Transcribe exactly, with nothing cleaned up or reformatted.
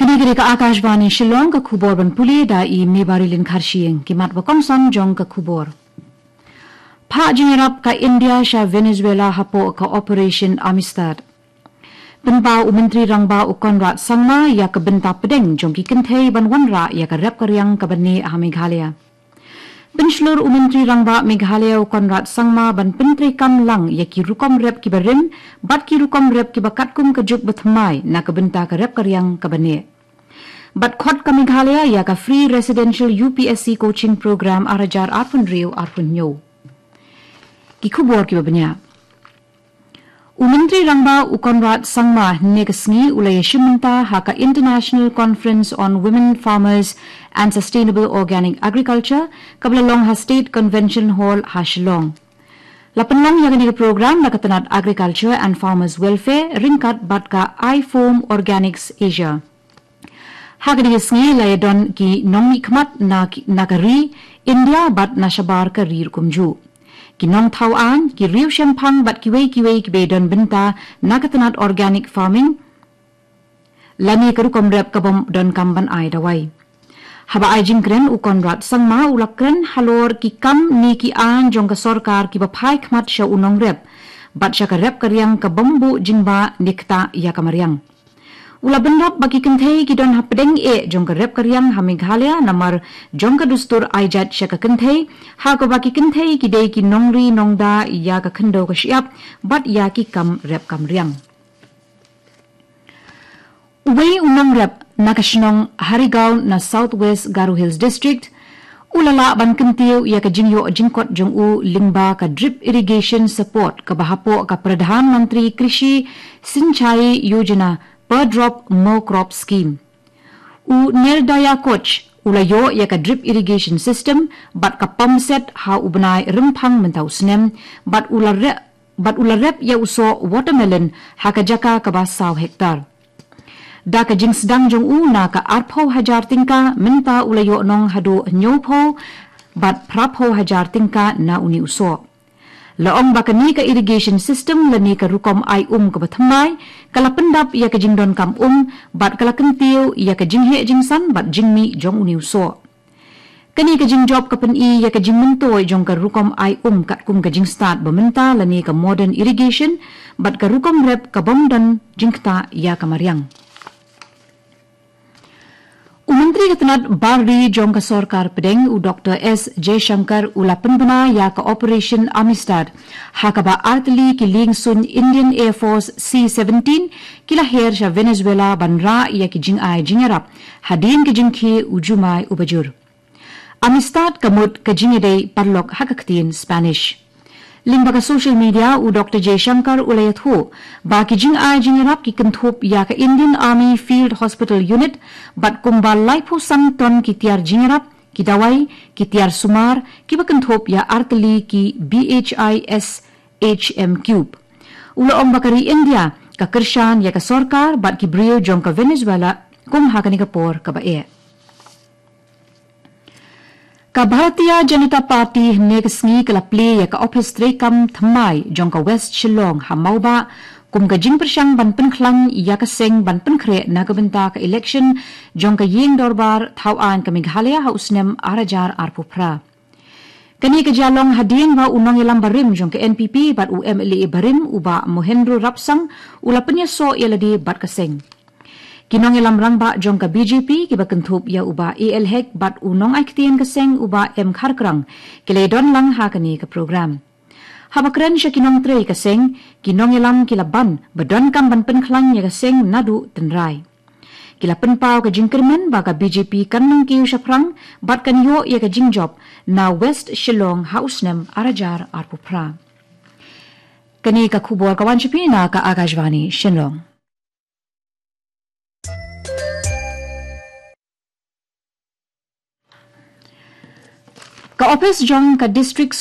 Kine ki dei ka Akashvani Shillong, ka khubor ban pule da i Mebarilin Kharshiing. Ki mat ba kongsan jong ka khubor. Phah jingïarap ka India sha Venezuela hapoh ka Operation Amistad. Pynpaw u Myntri Rangbah u Conrad Sangma ïa ka bynta pdeng jong ki kynthei ban wanrah ïa ka rep ka riang kaba neh ha Meghalaya. Pynshlur u Myntri Rangbah Meghalaya u Conrad Sangma ban pyntreikam lang ïa ki rukom rep kiba rim bad ki rukom rep kiba katkum ka juk ba thymmai na ka bynta ka rep ka riang kaba neh. Bad khot ka Meghalaya ïa ka Free Residential U P S C Coaching Program ar hajar arphew hynriew arphew hynñiew. Ki khubor kiba bniah. U Myntri Rangbah u Conrad Sangma hynne ka sngi u la ïashim bynta ha ka International Conference on Women Farmers and Sustainable Organic Agriculture kaba la long ha State Convention Hall ha Shillong. La pynlong ïa kane ka program da ka tnat Agriculture and Farmers Welfare ryngkat bad ka iFoam Organics Asia. Ha kane ka sngi la ïadon ki nongmihkhmat na ki, na ka ri India bad na shabar ka ri ruh kumjuh. Ki nongthaw aiñ, ki riewshemphang bad kiwei kiwei kiba ïadon bynta na ka tnat organic farming lane ka rukom rep kabym donkam ban ai dawai. Haba ai jingkren u Conrad Sangma u la kren halor ki kam ne ki aiñ jong ka sorkar kiba phai khmat sha u nongrep bad sha ka rep ka riang kabym buh jingbah ne ktah ïa ka mariang. U la bynrap ba ki kynthei ki don hapdeng eh jong ka rep ka riang ha Meghalaya namar jong ka dustur ai jait sha ka kynthei, ha kaba ki kynthei ki dei ki nongri nongda ïa ka khyndew ka shyiap bad ïa ki kam rep kam riang. Uwei u nongrep na ka shnong Harigaon na South West Garo Hills District u la lah ban kyntiew ïa ka jingïoh jingkot jong u lyngba ka drip irrigation support kaba hapoh ka Pradhan Mantri Krishi Sinchai Yojana per drop mo crop scheme. U Nerdaya Koch u la ïoh ïa ka drip irrigation system bad ka pump set ha u bnai Rymphang mynta u snem bad u la re-, bad u la rep ïa u soh watermelon ha ka jaka kaba saw hektar. Da ka jingsdang jong u na ka arphew hajar tyngka mynta u la ïoh nong haduh hynñiewphew bad phraphew hajar tyngka na une u soh. La ong ba kane ka irrigation system lane ka rukom ai um kaba thymmai ka la pyndap ïa ka jingdonkam um bad ka la kyntiew ïa ka jingheh jingsan bad jingmih jong une u soh. Kane ka jingjop ka pyni ïa ka jingmyntoi jong ka rukom ai um katkum ka jingstad ba mynta lane ka modern irrigation bad ka rukom rep kabym don jingktah ïa ka mariang. U Myntri ka tnat bar ri jong ka sorkar pdeng u Doktor S Jaishankar u la pynbna ïa ka Operation Amistad ha kaba artylli ki liengsuiñ Indian Air Force C seventeen ki la her sha Venezuela ban rah ïa ki jingai jingïarap hadien ka jingkhie u jumai uba jur. Amistad ka mut ka jingïadei paralok ha ka ktien Spanish. Lyngba ka social media u Doktor Jaishankar u la ïathuh ba ki jingai jingïarap ki kynthup ïa ka Indian Army Field Hospital Unit bad kumba laiphew san ton ki tiar jingïarap, ki dawai, ki tiar sumar kiba kynthup ïa artylli ki B H I S H M cube. U la ong ba ka ri India ka kyrshan ïa ka sorkar bad ki briew jong ka Venezuela kum ha kane ka por kaba eh. Ka Bharatiya Janata Party hynne ka sngi ka la plie ïa ka ophis treikam thymmai jong ka West Shillong ha Mawbah kum ka jingpyrshang ban pynkhlaiñ ïa ka seng ban pynkhreh na ka bynta ka election jong ka ïing dorbar thaw aiñ ka Meghalaya ha u snem ar hajar arphew phra. Kane ka jia long hadien ba u nongïalam barim jong ka N P P bad u M L A barim u Bah Mohendro Rapsang u la pynïasoh ïa lade bad ka seng. Ki nongïalam rangbah jong ka B J P kiba kynthup ïa u Bah A L Hek bad u nongai ktien ka seng u Bah M Kharkrang ki la ïadon lang ha kane ka program. Haba kren sha ki nongtrei ka seng, ki nongïalam ki la ban ba donkam ban pynkhlaiñ ïa ka seng naduh tynrai. Ki la pynpaw ka jingkyrmen ba ka B J P kan nang kiew shaphrang bad kan ïoh ïa ka jingjop na West Shillong ha u snem ar hajar arphew phra. Kane ka khubor ka wan sha phi na ka Akashvani Shillong. Ka ophis jong ka District